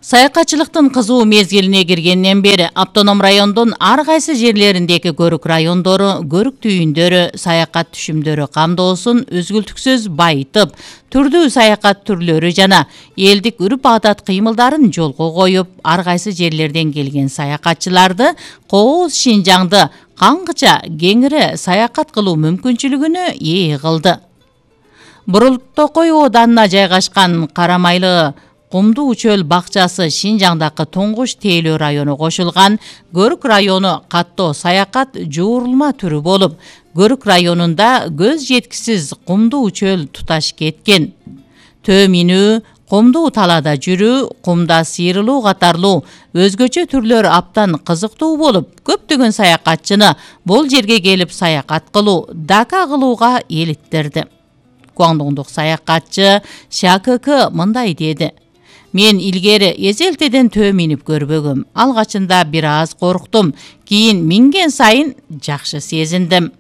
Саякатчылыктын кызуу мезгилине киргенден бери автоном райондун ар кайсы жерлериндеги көрүк райондору, көрүк түйүндөрү, саякат түшүмдөрү камдоосун үзгүлтүксүз байытып, түрдүү саякат түрлөрү жана элдик үрп-адат кыймылдарын жолго коюп, ар кайсы жерлерден келген саякатчыларды кооз Шинжаңды каңгыча кеңири саякат кылуу мүмкүнчүлүгүнө ээ кылды. Бурултокой ооданына жайгашкан Карамайлы Кумдуу чөл бакчасы Шинжаңдагы туңгуч тейлөө району кошулган Көрүк району каттоо саякат жуурулма түрү болуп, Көрүк районунда көз жеткисиз кумдуу чөл туташ кеткен. Төө минүү, кумдуу талаада жүрүү, кумда сейрилүү катарлуу өзгөчө түрлөр аптан кызыктуу болуп, көптөгөн саякатчыны бул жерге келип саякат кылуу, дака кылууга элиттирди. Гуандоңдук саякатчы ШКК мындай деди: Мен илгери эзелтеден төө минип көрбөгөм. Алгачында бир аз корктум, кийин минген сайын жакшы сезиндим.